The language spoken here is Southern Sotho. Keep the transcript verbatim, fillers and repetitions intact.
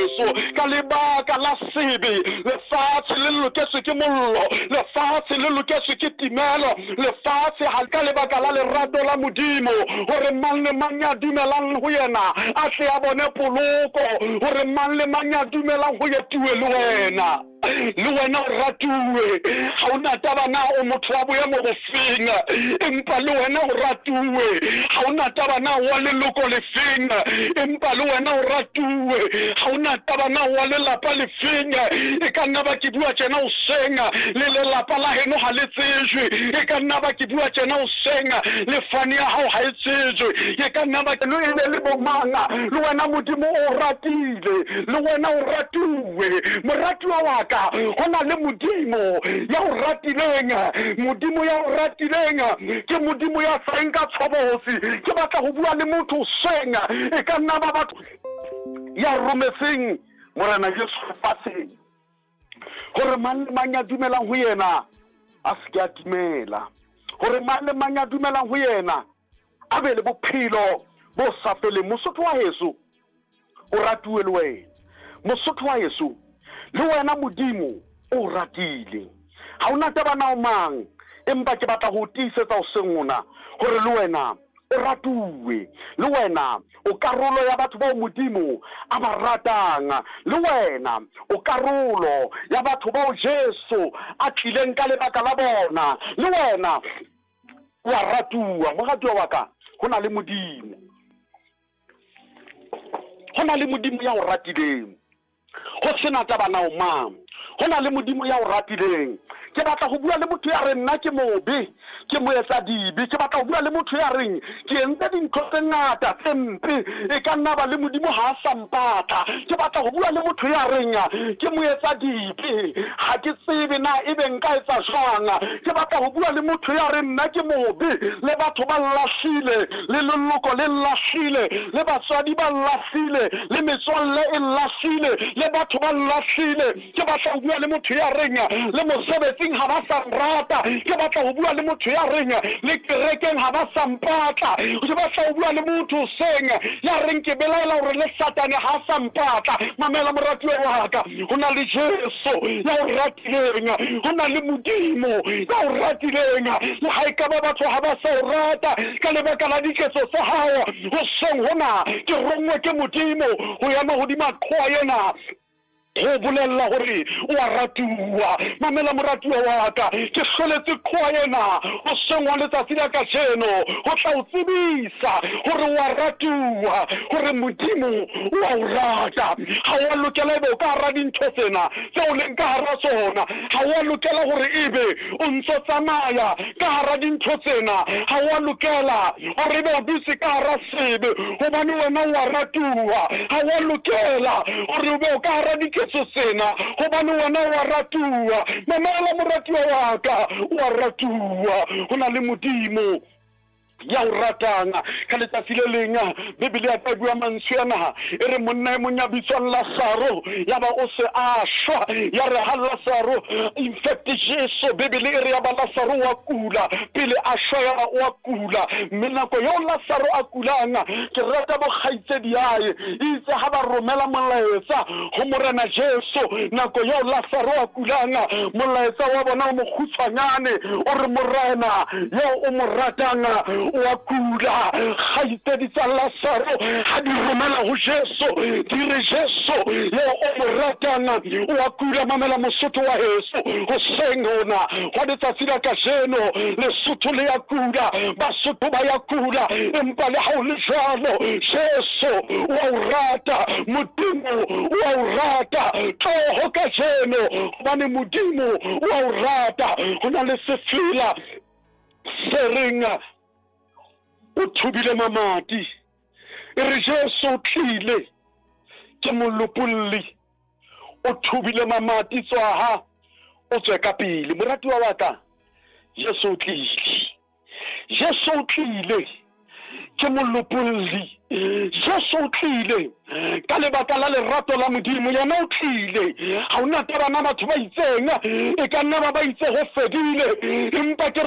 Jesu ka lebaka la sebe lefatshe le loketswe ke mollo, lefatshe le loketswe ke timelo, lefatshe ha ka lebaka la lerato la Modimo, hore mang le mang ya dumelang ho yena a tle a bone poloko, hore mang le mang ya dumelang ho yetuwe le wena, le wena o ratuwe. Ha o na taba na o motho wa boemo bofeng, empa le wena o ratuwe. Ha o na taba na wa leloko lefeng, empa le wena o ratuwe. Ha o na taba na wa lelapa lefeng, e ka nna ba ke bua tjena o seng le lelapa la heno ha le tsejwe, e ka nna ba ke bua tjena o seng le fane ya hao ha e tsejwe, e ka nna ba ke e be le bomang, le wena Modimo o ratile, le wena o ratuwe. Moratuwa wa ka, ho na le Modimo ya o ratileng, Modimo ya o ratileng ke Modimo ya seng ka tshobotsi. Ke batla ho bua le motho seng, e ka nna ba batho ya rometseng Morena Jesu lefatsheng, hore mang le mang ya dumelang ho yena a se ke a timela, hore mang le mang ya dumelang ho yena a be le bophelo bo sa feleng. Mosotho wa heso o ratuwe le wena, Mosotho wa heso le wena Modimo o ratile. Ha o na taba na o mang, empa ke batla ho tiisetsa o seng ona hore le wena o ratuwe, le wena o karolo ya batho bao Modimo a ba ratang, le wena o karolo ya batho bao Jesu a tlileng ka lebaka la bona, le wena wa ratuwa. Moratuwa wa ka, ho na le Modimo, ho na le Modimo ya o ratileng, ho sena taba na o mang, ho na le Modimo ya o ratileng. Ke batla ho bua le motho ya reng nna ke mobe, ke moetsa dibe. Ke batla ho bua le motho ya reng ke entse dintho tse ngata tse mpe, e ka nna ba le Modimo ha a sa mpatla. Ke batla ho bua le motho ya reng ke moetsa dibe, ha ke tsebe na ebe nka etsa jwang. Ke batla ho bua le motho ya reng nna ke mobe, le batho ba lahlile, le leloko le lahlile, le batswadi ba lahlile, le metswalle e lahlile, le batho ba lahlile. Ke batla ho bua le motho ya reng le mosebetsing ha ba sa nrata. Ke batla ho bua le motho ya reng le kerekeng ha ba sa mpatla. Ke batla ho bua le motho seng ya reng ke belaela hore le Satane ha sa mpatla. Mamela moratuwa wa ka, ho na le Jesu ya o ratileng, ho na le Modimo ya o ratileng. Le ha ekaba batho ha ba sa o rata ka lebaka la diketso tsa hao, hoseng hona ke rongwe ke Modimo ho ema hodima qhoa ena ho bolella hore o a ratuwa. Mamela moratuwa wa ka, ke hloletse qhoa ena hoseng wa letsatsi la kajeno ho tla o tsebisa hore o a ratuwa, hore Modimo o a o rata. Ha o a lokela ebe o ka hara dintho tsena tseo o leng ka hara tsona, ha o a lokela hore ebe o ntso tsamaya ka hara dintho tsena, ha o a lokela hore ebe o dutse ka hara sebe hobane wena o a ratuwa. Ha o a lokela hore o be o ka hara diketso tsena hobane wena o a ratuwa. Mamela moratuwa wa ka, o a ratuwa, ho na le Modimo ya o ratang. Ka letsatsi le leng Bibele ya ka bua mantswe ana, e re monna e mong ya bitswang Lazaro ya ba o se a shwa. Ya re ha Lazaro, in fact Jesu, Bibele e re ya ba Lazaro wa kula pele a shwa, ya ba wa kula. Mme nako eo Lazaro a kulang, ke rata bokgaitsedi yae itse ha ba romela molaetsa ho Morena Jesu, nako eo Lazaro a kulang, molaetsa wa bona o mokgutshwanyane o re Morena eo o mo ratang wa kula. Kgaitsedi tsa Lazaro ha di romela ho Jesu, di re Jesu eo o mo ratang wa kula. Mamela Mosotho wa heso, hoseng hona hwa letsatsi la kajeno, Lesotho le ya kula, Basotho ba ya kula, empa le ha o le jwalo Jesu wa o rata, Modimo wa o rata. Tloho kajeno hobane Modimo wa o rata. Ho na le sefela se reng o thubile mamati, e re Jesu o tlile ke molopolli, o thubile mamati, tswaha o tswe ka pele. Moratuwa wa ka, Jesu o tlile, Jesu o tlile ke molopolli, Jesu o tlile ka lebaka la lerato la Modimo. Yena o tlile, ha o na taba na batho ba itseng, e ka nna ba ba itse ho fedile, empa ke